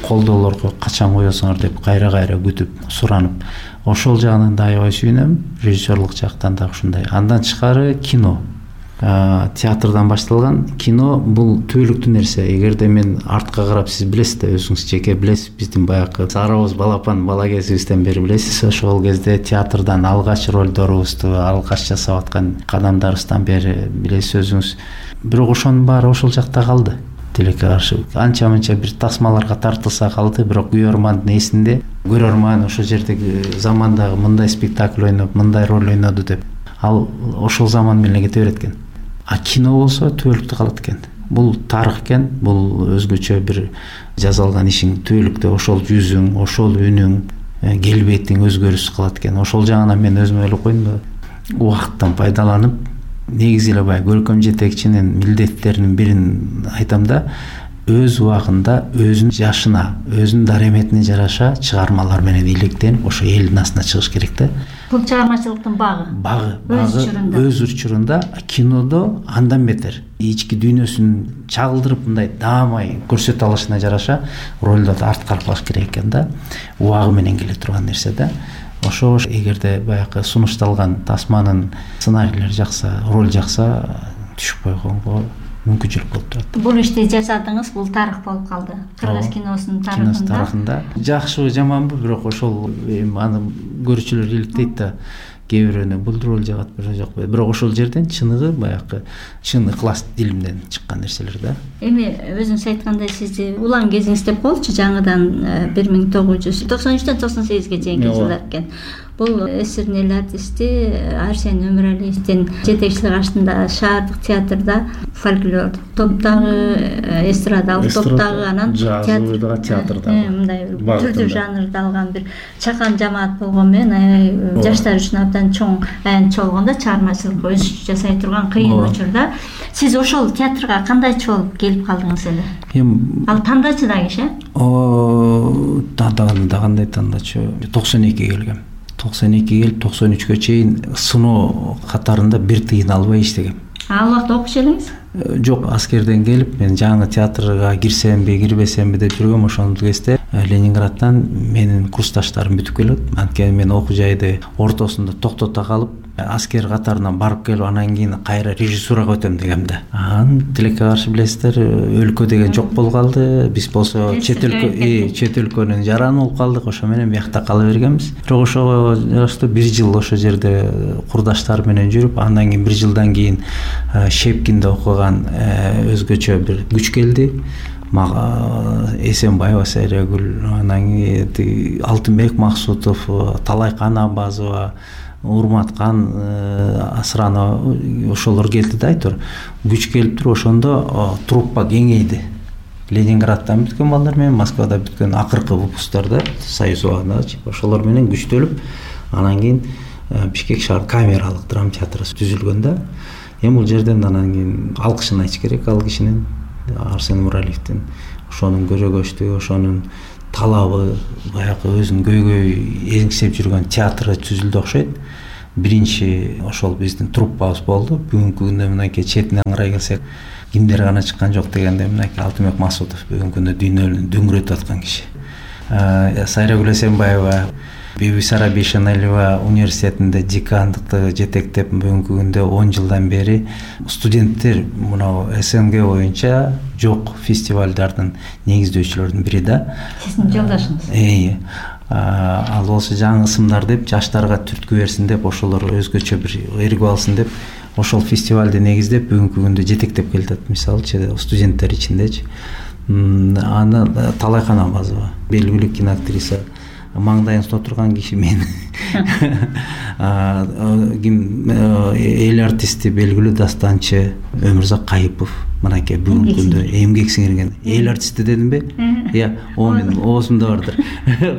колдоолорго качан коесуңар деп кайра күтүп, суранып. Ошол жагынан да аябай сүйүнөм, режиссерлук жактан да ушундай. Андан тышкары кино, театрдан башталган кино бул түбөлүктүү нерсе. Эгерде мен артка карап, сиз билесиз да, өзүңүз жеке билесиз, биздин баягы Сарабоз балапан бала кезибизден бери билесиз, ошол кезде театрдан алгач ролдорубузду, алгач жасап аткан кадамдарыбыздан бери билесиз өзүңүз. Бирок ошонун баары ошол жакта калды. Тилекке каршы анча-мынча бир тасмаларга тартылса калды, бирок көрөрмандын эсинде көрөрман ошол жердеги замандагы мындай спектакль ойноп, мындай роль ойноду деп, ал ошол заман менен кете берет экен. А кино болсо түбөлүктүү калат экен. Бул тарых экен, бул өзгөчө бир жазалган ишиң түбөлүктүү, ошол жүзүң, ошол үнүң, келбетиң өзгөрүшсүз калат экен. Ошол жагынан мен өзүм ойлоп койдум да, убакыттан пайдаланып, негизи эле баягы көркөм жетекчинин милдеттеринин бирин айтам да, өз убагында өзүнүн жашына, өзүнүн дареметине жараша чыгармалар менен илектенип, ошо элдин астына чыгыш керек да. Бул чыгармачылыктын багы өз учурунда. Кинодо андан бетер ички дүйнөсүн чагылдырып, мындай даамай көрсөтө алышына жараша ролдорду арткарып алыш керек экен да. Убагы менен келе турган нерсе да. Ошо эгерде баягы сунушталган тасманын сценарийлери жакса, роль жакса, түшүп койгонго мүмкүнчүлүк болуп турат. Бул ишти жасадыңыз, бул тарых болуп калды. Кыргыз киносунун тарыхында. Жакшыбы, жаманбы, бирок ошол аны көрүүчүлөр иликтейт да. Кээ бирөөнө бул роль жагат, жок. Бирок ошол жерден чыныгы баягы чын ыклас дилимден чыккан нерселер да. Эми өзүңүз айткандай, сизди улан кезиңиз деп коелучу, жаңыдан 1993-төн 98-ге чейинки жылдар экен. Бул эсирнел артисти Арсен Өмүралиевдин жетекчилиги астында шаардык театрда фольклор топтогу, эстрадалык топтогу, анан театрда мындай түрдүү жанрда алган бир чакан жамаат болгон менен жаштар үчүн абдан чоң аянтчы болгондо, чыгармачылык өз жасай турган кыйын учурда сиз ошол театрга кандайчы болуп келип калдыңыз эле? Ал тандачы да киши? Кандай тандачы? 92 келгем. 92 келип 93-кө чейин сыноо катарында бир тыйын албай иштегем. Ал убакта окуч элеңиз? Жок, аскерден келип мен жаңы театрга кирсемби, кирбесемби деп жүргөм. Ошол кезде Ленинградтан менин курсташтарым бүтүп келет. Анткени мен окуу жайды ортосунда токтото калып, аскер катарынан барып келип, анан кийин кайра режиссурага өтөм дегем да. Тилекке каршы билесиздер, өлкө деген жок болуп калды. Биз болсо чет өлкөнүн жараны болуп калдык. Ошо менен биякта кала бергенбиз. Бирок ошого жараштуу 1 жыл ошо жерде курдаштар менен жүрүп, андан кийин 1 жылдан кийин Шепкинде окуган өзгөчө бир күч келди. Эсенбаева Сайрагүл, анан Алтынбек Максутов, Талайкан Абазова, Урматкан Асранова ошолор келди да айтор. Күч келиптир, ошондо труппа кеңейди. Ленинградтан бүткөн балдар менен Москвада бүткөн акыркы выпусктордо Союз убагында ошолор менен күчтөлүп, анан кийин Бишкек шаар камералык драма театры түзүлгөн да. Эми бул жерден анан кийин алкышын айтыш керек ал кишинин, Арсен Муралиевдин. Ошонун көрөгөчтүгү, ошонун талабы, баягы өзүнүн көйгөй эңсеп жүргөн театры түзүлдү окшойт. Биринчи ошол биздин труппабыз болду. Бүгүнкү күндө мынакей четинен карай келсек, кимдер гана чыккан жок дегенде мынакей Алтынбек Максутов бүгүнкү күндө дүйнөнү дөңгөрөтүп аткан киши. Сайрагүл Эсенбаева Бибисара Бейшеналиева университетинде декандыкты жетектеп бүгүнкү күндө 10 жылдан бери студенттер мына СНГ боюнча жок фестивалдардын негиздөөчүлөрүнүн бири да. Сиздин жолдошуңуз. Ал болсо жаңы ысымдар деп жаштарга түрткү берсин деп, ошолор өзгөчө бир эргип алсын деп ошол фестивалды негиздеп бүгүнкү күндө жетектеп келатат. Мисалы студенттер ичиндечи. Аны Талайкан Абазова, белгилүү киноактриса, маңдайыңызда отурган киши мен. Эл артисти, белгилүү дастанчы Өмүрзак Кайыпов, мынакей бүгүнкү күндө эмгек сиңирген. Эл артисти дедимби? О менин оозумда бардыр.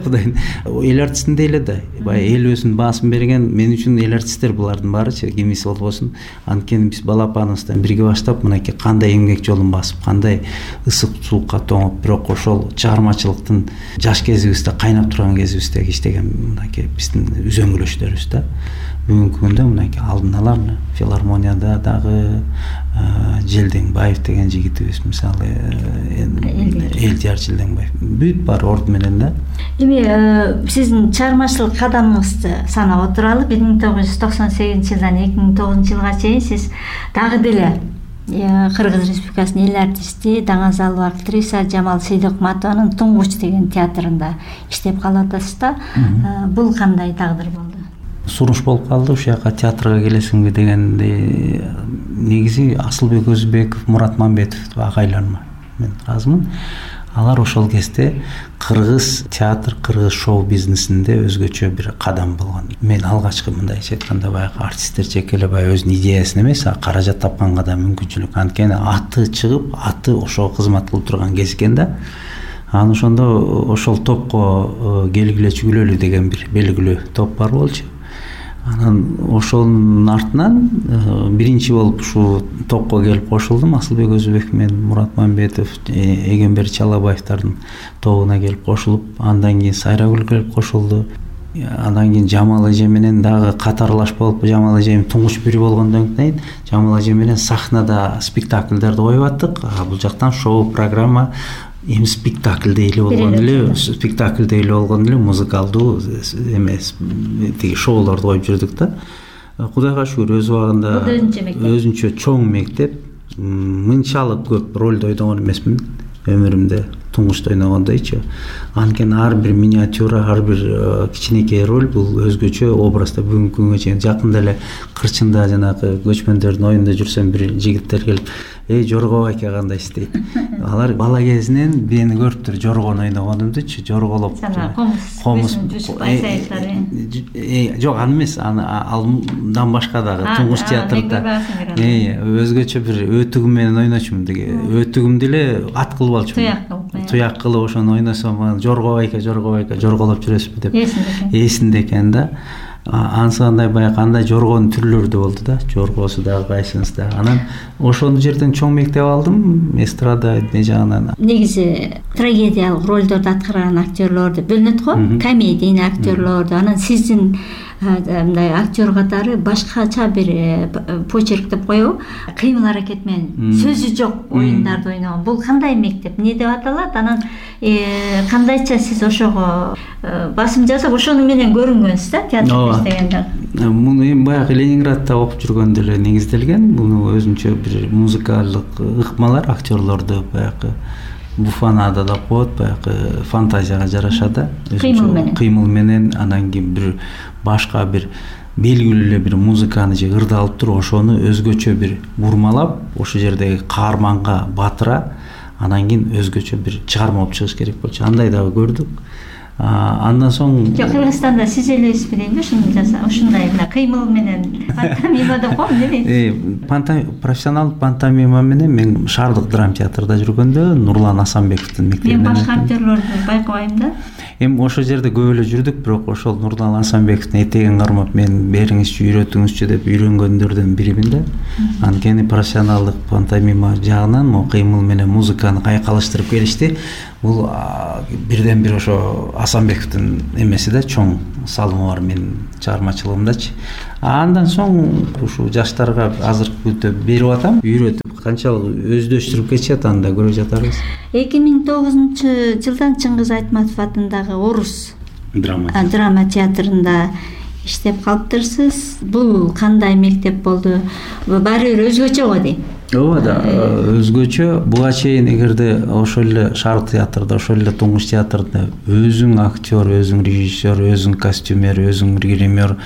Кудайым. Эл артистинде эле да. Баягы эл өзүнүн баасын берген. Мен үчүн эл артисттер булардын баарычы, кимиси болбосун. Анткени биз балапаныбыздан бирге баштап мынакей кандай эмгек жолун басып, кандай ысык суукка тоңуп, бирок ошол чыгармачылыктын жаш кезибизде кайнап турган кезибизде иштеген мынакей биздин үзөңгүлөштөрүбүз да. Бүгүнкү күндө мынакей алдын ала филармонияда дагы Желдеңбаев деген жигитибиз, мисалы Элдияр Желдеңбаев бүт бар орду менен да. Эми сиздин чыгармачылык кадамыңызды санап отуралы. 1998 жылдан 2009 жылга чейин сиз дагы деле Кыргыз Республикасынын эл артисти, даңазалуу актриса Жамал Сейдокматованын Туңгуч деген театрында иштеп калатсыз да. Бул кандай тагдыр болду? Суруш болуп калды, ушул жака театрга келесиңби дегенде, негизи Асылбек Өзбеков, Мурат Мамбетов агайларым мен ыраазымын. Алар ошол кезде кыргыз театр, кыргыз шоу бизнесинде өзгөчө бир кадам болгон. Мен алгачкы мындайча айтканда баягы артисттер жеке эле баягы өзүнүн идеясын эмес, каражат тапканга да мүмкүнчүлүк. Анткени аты чыгып, аты ошого кызмат кылып турган кез экен да. Анан ошондо ошол топко келгиле чүгүлөлү деген бир белгилүү топ бар болчу. Анан ошонун артынан биринчи болуп ушул топко келип кошулдум. Асылбек Өзбеков менен Мурат Мамбетов, Эгембер Чалабаевдардын тобуна келип кошулуп, андан кийин Сайрагүл келип кошулду. Андан кийин Жамал эже менен дагы катарлаш болуп, Жамал эжем туңгуч бири болгондон кийин Жамал эже менен сахнада спектакльдерди коюп аттык. Бул жактан шоу программа эми спектакльдей эле болгон эле, музыкалдуу эмес, тиги шоулорду коюп жүрдүк да. Кудайга шүгүр өз убагында өзүнчө чоң мектеп, мынчалык көп ролду ойногон эмесмин өмүрүмдө. Туңгучта ойногондойчу. Анткени ар бир миниатюра, ар бир кичинекей роль бул өзгөчө образда. Бүгүнкү күнгө чейин жакында эле Кырчында жанагы көчмөндөрдүн оюнда жүрсөм, бир жигиттер келип, Жорго байке кандай истейт. Алар бала кезинен мени көрүптүр жоргону ойногонумдучу, жорголоп. Комуз. Жок, аны эмес, андан башка дагы Туңгуч театрда өзгөчө бир өтүгүм менен ойночумун. Өтүгүмдү эле ат кылып алчумун. Туяк кылып ошону ойносом, Жорго байке жорголоп жүрөсүзбү деп эсинде экен да. Ансандай баягы кандай жоргонун түрлөрү да болду да, жоргосу дагы кайсынысы. Анан ошол жерден чоң мектеп алдым, эстрада жагынан. Негизи трагедиялык ролдорду аткарган актерлорду бөлүнөт го, комедийный актерлорду. Анан сиздин мындай актер катары башкача бир почерк деп коебу, кыймыл аракет менен сөзү жок оюндарды ойногон. Бул кандай мектеп, эмне деп аталат? Анан кандайча сиз ошого басым жасап, ошону менен көрүнгөнсүз да театрда иштегенде? Муну эми баягы Ленинградта окуп жүргөндө эле негизделген. Муну өзүнчө бир музыкалдык ыкмалар актерлорду баягы буфанада да коет, баягы фантазияга жараша да. Кыймыл менен, анан кийин бир башка бир белгилүү эле бир музыканы же ырды алып туруп, ошону өзгөчө бир бурмалап, ошол жердеги каарманга батыра, анан кийин өзгөчө бир чыгарма болуп чыгыш керек болчу. Андай дагы көрдүк. Андан соң Кыргызстанда сиз элесизби дейм да, ушундай мына кыймыл менен пантомима деп коем эмне? Профессионалдык пантомима менен мен шаардык драма театрда жүргөндө Нурлан Асанбековдун мектебинен. Мен башка актерлорду байкабайм да. Эми ошол жерде көп эле жүрдүк, бирок ошол Нурлан Асанбековдун этегин кармап мен бериңизчи, үйрөтүңүзчү деп үйрөнгөндөрдүн биримин да. Анткени профессионалдык пантомима жагынан могу кыймыл менен музыканы кайкалыштырып келишти. Бул бирден бир ошо Асанбековдун эмеси да, чоң салымы бар менин чыгармачылыгымдачы. Андан соң ушул жаштарга азыркы күндө берип атам, үйрөтүп канчалык өздөштүрүп кетишет, аны да көрүп жатабыз. 2009-жылдан Чыңгыз Айтматов атындагы Орус драма театрында иштеп калыптырсыз. Бул кандай мектеп болду? Баары бир өзгөчө го дейм. Ооба да, өзгөчө. Буга чейин эгерде ошол эле шаардык театрда, ошол эле туңгуч театрда өзүң актер, өзүң режиссер, өзүң костюмер, өзүң гример,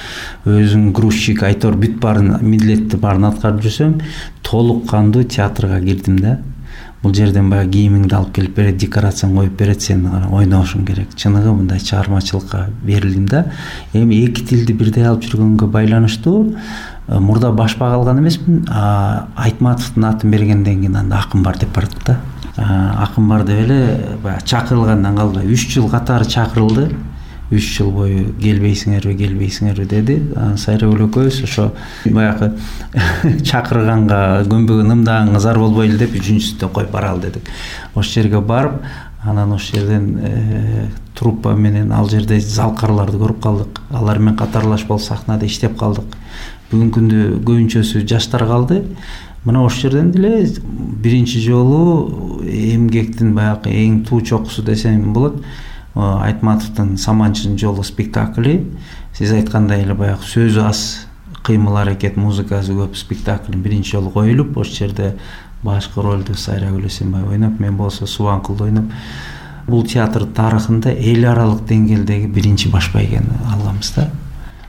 өзүң грузчик, айтор бүт баарын милдетти баарын аткарып жүрсөм, толук кандуу театрга кирдим да. Бул жерден баягы кийимиңди алып келип берет, декорацияны коюп берет, сен ойношуң керек. Чыныгы мындай чыгармачылыкка берилдим да. Эми эки тилди бирдей алып жүргөнгө байланыштуу мурда башпак алган эмесмин. Айтматовдун атын бергенден кийин анда акын бар деп бардык да. Акын бар деп эле баягы чакырылгандан калбай 3 жыл катары чакырылды. 3 жыл бою келбейсиңерби деди. Сайрагүл экөөбүз ошо баягы чакырганга көнбөгөн ымдаган зар болбойлу деп 3-сүндө коюп баралы дедик. Ошол жерге барып, анан ошол жерден труппа менен ал жерде залкарларды көрүп калдык. Алар менен катарлаш болуп сахнада иштеп калдык. Бүгүнкү күндө көбүнчөсү жаштар калды. Мына ошол жерден деле биринчи жолу эмгектин баягы эң туу чокусу десем болот. Айтматовдун Саманчынын жолу спектакли, сиз айткандай эле баягы сөзү аз, кыймыл аракет, музыкасы көп спектакль биринчи жолу коюлуп, ошол жерде башкы ролду Сайрагүл Эсенбай ойноп, мен болсо Субанкулду ойноп. Бул театр тарыхында эл аралык деңгээлдеги биринчи баш байгени алганбыз да.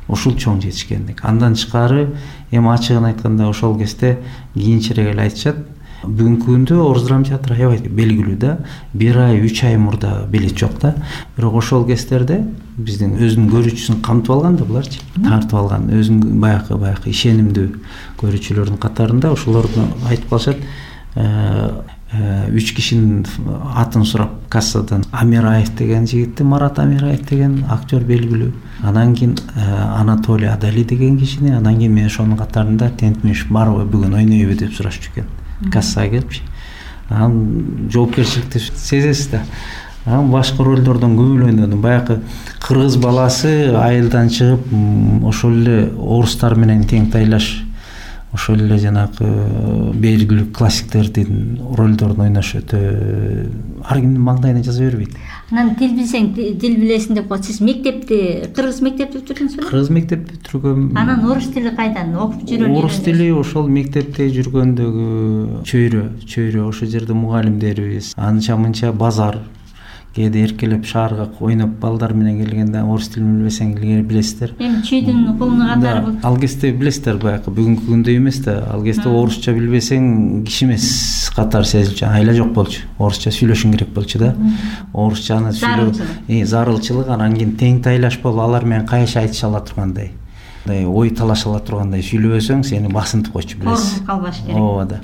Ушул чоң жетишкендик. Андан тышкары эми ачыгын айтканда ошол кезде кийинчерээк эле айтышат. Бүгүнкү күндө Орус драма театры аябай белгилүү да. 1 ай, 3 ай мурда билет жок да. Бирок ошол кездерде биздин өзүнүн көрүүчүсүн камтып алган да буларчы. Тартып алган өзүнүн баягы ишенимдүү көрүүчүлөрдүн катарында ошолорду айтып калышат. 3 кишинин атын сурап кассадан Амираев деген жигитти, Марат Амираев деген актер белгилүү. Анан кийин Анатолий Адали деген кишини, анан кийин мен ошонун катарында Тентмиш барбы бүгүн ойнойбу деп сурашчу экен. Кассага келипчи. Анан жоопкерчиликти сезесиз да. Анан башка ролдордон көп ойнодум. Баягы кыргыз баласы айылдан чыгып, ошол эле орустар менен тең тайлаш, ошол эле жанагы белгилүү классиктердин ролдорун ойнош өтө ар кимдин маңдайына жаза бербейт. Анан тил билсең дил билесиң деп коет. Сиз мектепти кыргыз мектепти бүтүрдүңүзбү? Кыргыз мектепти бүтүргөм. Анан орус тили кайдан окуп жүрөм? Орус тили ошол мектепте жүргөндөгү чөйрө ошол жерде мугалимдерибиз, анча-мынча базар кээде эркелеп шаарга ойноп балдар менен келгенде орус тилин билбесең илгери билесиздер. Эми чүйдүн колуна катары бул. Ал кезде билесиздер баягы бүгүнкү күндө эмес да. Ал кезде орусча билбесең киши эмес катары сезилчү. Айла жок болчу. Орусча сүйлөшүң керек болчу да. Орусчаны сүйлөө зарылчылык, анан кийин тең тайлаш болуп алар менен кайша айтыша ала тургандай, ой талаша ала тургандай сүйлөбөсөң сени басынтып койчу билесиз. Калбаш керек. Ооба да.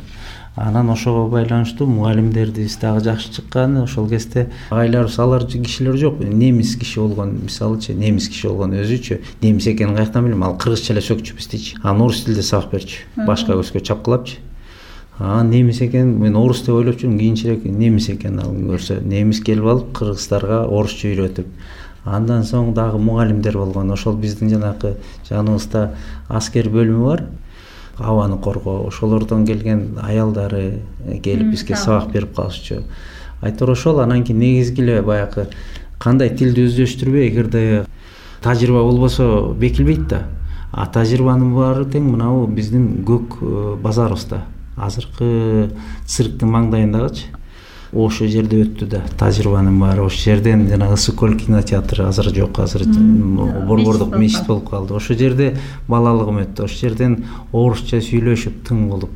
Анан ошого байланыштуу мугалимдерибиз дагы жакшы чыккан. Ошол кезде агайларыбыз алар кишилер жок. Немис киши болгон, мисалычы, немис киши болгон өзүчө. Немис экенин каяктан билем? Ал кыргызча эле сөкчү биздичи. Анан орус тилде сабак берчү. Башка көзгө чапкылапчы. Немис экен, мен орус деп ойлоп жүрүм, кийинчерээк немис экен ал көрсө. Немис келип алып кыргыздарга орусча үйрөтүп. Андан соң дагы мугалимдер болгон. Ошол биздин жанагы жаныбызда аскер бөлүмү бар. Абаны коргоо, ошолордон келген аялдары келип бизге сабак берип калышчу. Айтор ошол. Анан кийин негизги эле баягы кандай тилди өздөштүрбөй, эгерде тажрыйба болбосо бекилбейт да. Тажрыйбанын баары тең мынабу биздин көк базарыбызда. Азыркы цирктин маңдайындагычы. Ошол жерде өттү да тажрыйбанын баары. Ошол жерден жана Ысыкөл кинотеатры азыр жок, азыр борбордук мечит болуп калды. Ошол жерде балалыгым өттү. Ошол жерден орусча сүйлөшүп тың болуп.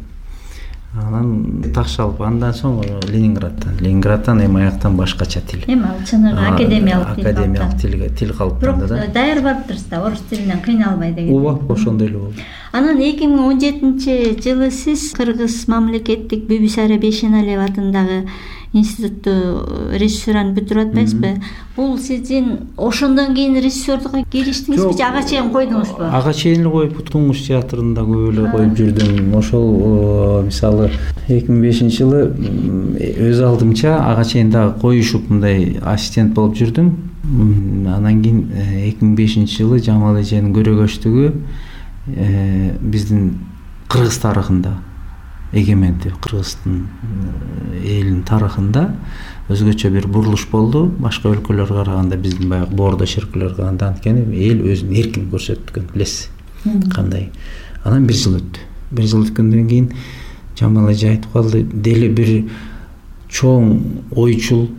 Анан такшалып андан соң Ленинградтан эми аяктан башкача тил. Эми ал чыныгы академиялык тил калыптанды да. Бирок даяр барыптырсыз да, орус тилинен кыйналбай деген. Ооба, ошондой эле болду. Анан 2017-жылы сиз Кыргыз мамлекеттик Бибисара Бейшеналиева атындагы институтту режиссураны бүтүрүп атпайсызбы? Бул сиздин ошондон кийин режиссердукка кириштиңизби же ага чейин койдуңузбу? Ага чейин эле коюп, Туңгуч театрында көп эле коюп жүрдүм. Ошол мисалы 2005-жылы өз алдымча ага чейин дагы коюшуп мындай ассистент болуп жүрдүм. Анан кийин 2005-жылы Жамал эженин көрөгөчтүгү биздин Кыргыз тарыхында, эгеменди Кыргыздын элинин тарыхында өзгөчө бир бурулуш болду. Башка өлкөлөргө караганда биздин баягы боордо шеркелерге караганда анткени эл өзүн эркин көрсөткөн, билесиз кандай. Анан 1 жыл өттү. 1 жыл өткөндөн кийин Жамал эже айтып калды, дели бир чоң ойчул,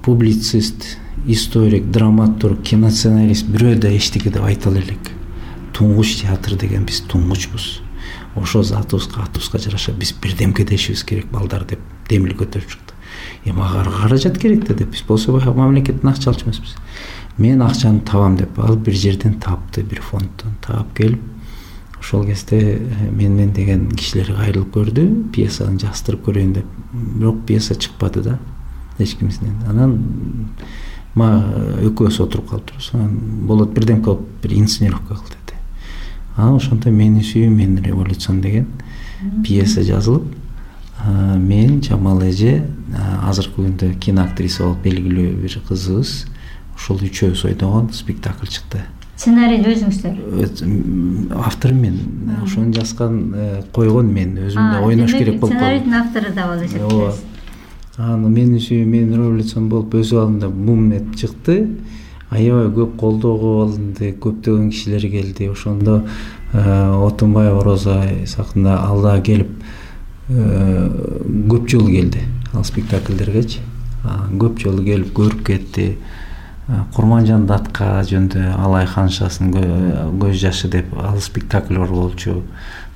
публицист, историк, драматург, киносценарист бирөө да эчтеке деп айта элек. Туңгуч театр деген биз туңгучпуз. Ошо атыбызга жараша биз бирдемке дешибиз керек балдар деп демил көтөрүп чыкты. Эми ага каражат керек да деп, биз болсо мамлекеттен акча алчу эмеспиз. Мен акчаны табам деп ал бир жерден тапты, бир фонддон таап келип, ошол кезде мен деген кишилерге кайрылып көрдү, пьесаны жаздырып көрөйүн деп. Бирок пьеса чыкпады да эч кимсинен. Анан экөөбүз отуруп калыптырбыз. Анан болот бирдемке кылып бир инсценировка кыл деди. Анан ошондо Менин сүйүү мен революцион деген пьеса жазылып, мен Жамал эже, азыркы күндө киноактриса болуп белгилүү бир кызыбыз, ошол үчөөбүз ойногон спектакль чыкты. Сценарийди өзүңүздөр? Автору мен. Ошону жазган, койгон мен. Өзүм да ойнош керек болуп калды. Сценарийдин автору да болуп эсептейсиз. Анан Менин сүйүү мен революцион болуп өз алдында бум эт чыкты. Аябай көп колдоого алынды, көптөгөн кишилер келди. Ошондо Отунбаева Роза сакында алда келип көп жолу келди ал спектакльдергечи. Көп жолу келип көрүп кетти. Курманжан Датка жөнүндө Алай ханшасынын көз жашы деп ал спектакль бар болчу.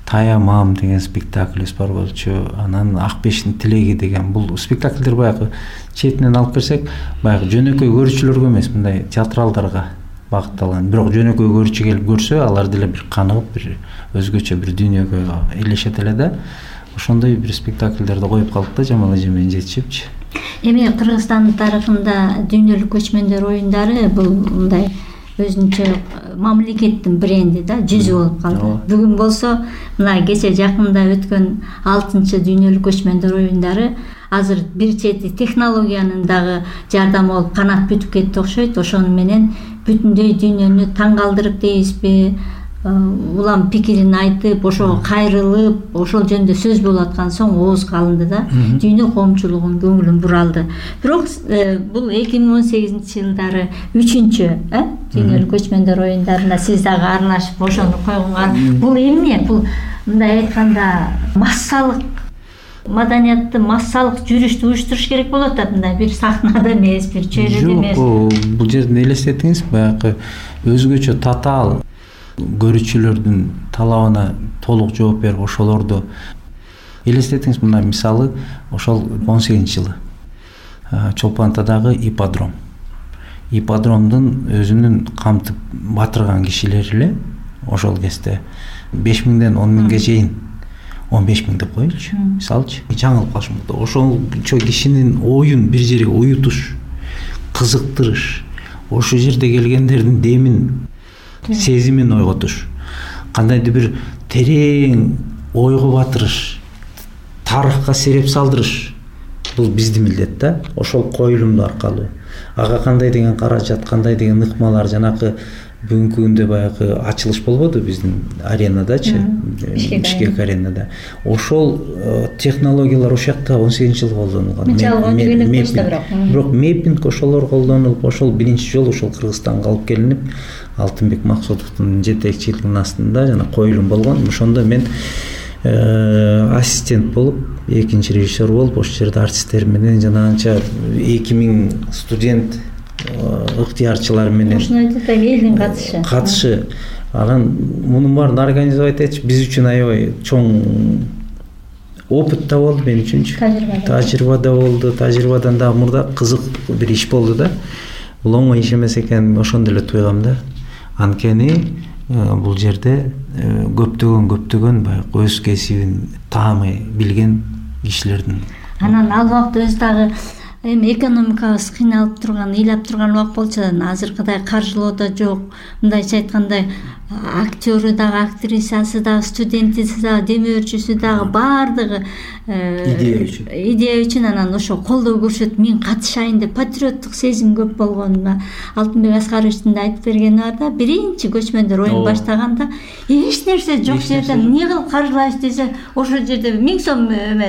Таямам деген спектакльбиз бар болчу. Анан Ак Бештин тилеги деген бул спектакльдер баягы четинен алып келсек, баягы жөнөкөй көрүүчүлөргө эмес, мындай театралдарга багытталган. Бирок жөнөкөй көрүүчү келип көрсө, алар деле бир каныгып, бир өзгөчө бир дүйнөгө элешет эле да. Ошондой бир спектакльдерди коюп калдык да Жамал эже менен жетишипчи. Эми Кыргызстандын тарыхында дүйнөлүк көчмөндөр оюндары бул мындай өзүнчө мамлекеттин бренди да, жүзү болуп калды. Бүгүн болсо мына кече жакында өткөн 6-чы дүйнөлүк көчмөндөр оюндары азыр бир чети технологиянын дагы жардамы болуп канат бүтүп кетти окшойт. Ошону менен бүтүндөй дүйнөнү таң калтырып дейбизби, улам пикирин айтып, ошого кайрылып, ошол жөнүндө сөз болуп аткан соң оозго алынды да, дүйнө коомчулугунун көңүлүн буралды. Бирок бул 2018-жылдары 3-чү дүйнөлүк көчмөндөр оюндарына сиз дагы аралашып ошону койгонго, бул эмне? Бул мындай айтканда массалык маданиятты, массалык жүрүштү уюштуруш керек болот да, мындай бир сахнада эмес, бир чөйрөдө эмес. Жок, бул жерден элестетиңиз, баягы өзгөчө татаал көрүүчүлөрдүн талабына толук жооп берип, ошолорду элестетиңиз. Мына мисалы, ошол 18-жылы Чолпон Атадагы ипподром. Ипподромдун өзүнүн камтып батырган кишилери эле ошол кезде 5000ден 10.000ге чейин 15.000 деп коелучу, мисалчы, жаңылып калышы мүмкүн. Ошончо кишинин оюн бир жерге уютуш, кызыктырыш, ошол жерде келгендердин демин, сезимин ойготуш, кандайдыр бир терең ойго батырыш, тарыхка сереп салдырыш, бул биздин милдет да. Ошол коюлумду аркылуу ага кандай деген каражат, кандай деген ыкмалар, жанакы бүгүнкү күндө баягы ачылыш болбоду биздин аренадачы, Бишкек аренада. Ошол технологиялар ошол жакта 18-жылы колдонулган. Бирок меппинг ошолор колдонулуп, ошол биринчи жолу ошол Кыргызстанга алып келинип, Алтынбек Максутовдун жетекчилигинин астында жана коюлум болгон. Ошондо мен ассистент болуп, экинчи режиссер болуп, ошол жерде артисттер менен жана анча 2000 студент ыктыярчылар менен элдин катышы. Анан мунун баарын организовать этиш биз үчүн аябай чоң опыт да болду мен үчүнчү. Тажрыйба да болду. Тажрыйбадан дагы мурда кызык бир иш болду да. Бул оңой иш эмес экенин ошондо эле туйгам да. Анткени бул жерде көптөгөн баягы өз кесибин таамай билген кишилердин. Анан ал убакта өз дагы эми экономикабыз кыйналып турган, ыйлап турган убак болчу да, азыркыдай каржылоо да жок. Мындайча айтканда актёру дагы, актрисасы дагы, студентиси дагы, демөөрчүсү дагы баардыгы идея үчүн анан ошо колдоо көрсөтүп мен катышайын деп патриоттук сезим көп болгонуна Алтынбек Аскаровичтин да айтып бергени бар да. Биринчи көчмөндөр оюн баштаганда эч нерсе жок жерден эмне кылып каржылайбыз десе, ошол жерде 1000 сом эмес